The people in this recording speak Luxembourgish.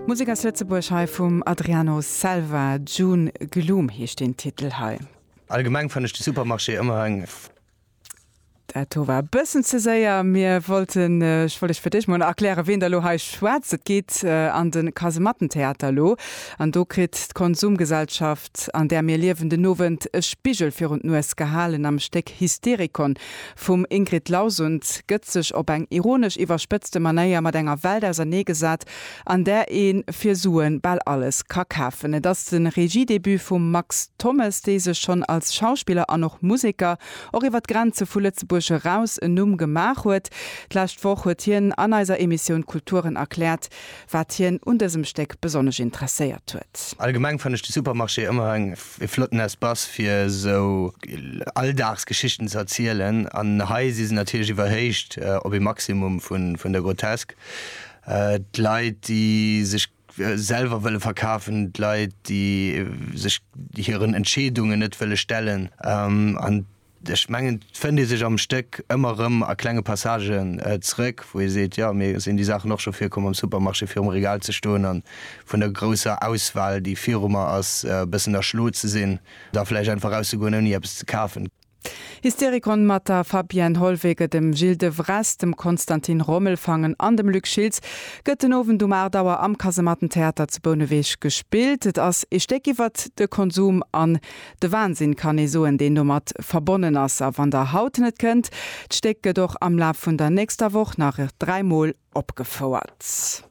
Musek aus Lëtzebuerg hei vum Adriano Selva, June Gloom heescht deen Titel hei. Allgemeng fannen ech de Supermarché ëmmer eng. Dat do war e bëssen ze séier. Mir wollten, ech wollt iech fir d'éischt mol erklären, wien da lo hei schwätzt. Et geet an de Kasemattentheater elo an do kritt d'Konsumgesellschaft, an där mir liewen, den Owend e Spigel virun d'Nues gehalen. Am Stéck Hysterikon vum Ingrid Lausund gëtt sech op eng ironesch iwwerspëtzte Manéier mat enger Welt auserneegesat, an där ee fir Sue bal alles ka kafen. Et ass de Regiedebut vum Max Thommes, dee sech schonn als Schauspiller an och Museker och iwwer d'Grenze vu Lëtzebuerg eraus en Numm gemaach huet. D'lescht Woch huet hien an eiser Emissioun Kulturen erkläert, wat hien un dësem Stéck besonnesch interesséiert huet. Allgemeng fannen ech de Supermarché ëmmer eng e flotten Espace fir esou Alldagsgeschichten ze erzielen an hei si se natierlech iwwerhéicht op ee Maximum vun der Grotesk. D'Leit déi sech selwer wëlle verkafen, d'Leit, déi sech hiren Entscheedungen net wëlle stellen. An ech mengen, et fënnt ee sech am Stéck ëmmer erëm a klenge Passagen zrëck, wou ee seet, jo, mir sinn déi Saachen och scho virkomm, am Supermarché virum Regal ze stoen a vun der grousser Auswahl, déi viru mer ass, e bëssen erschlo ze sinn, da vläicht einfach erauszegoen, ouni eppes ze kafen. Hysterikon mat der Fabienne Hollwege, dem Gilles de Vries, dem Konstantin Rommelfangen an dem Luc Schiltz gëtt den Owend um 8 Auer am Kasemattentheater zu Bouneweg gespillt. Et ass ee Stéck iwwert de Konsum an de Wahnsinn, kann ee soen, deen domat verbonnen ass. A wann der haut net kënnt, d'Stéck gëtt och am Laf vun der nächster Woch nach dräimol opgefouert.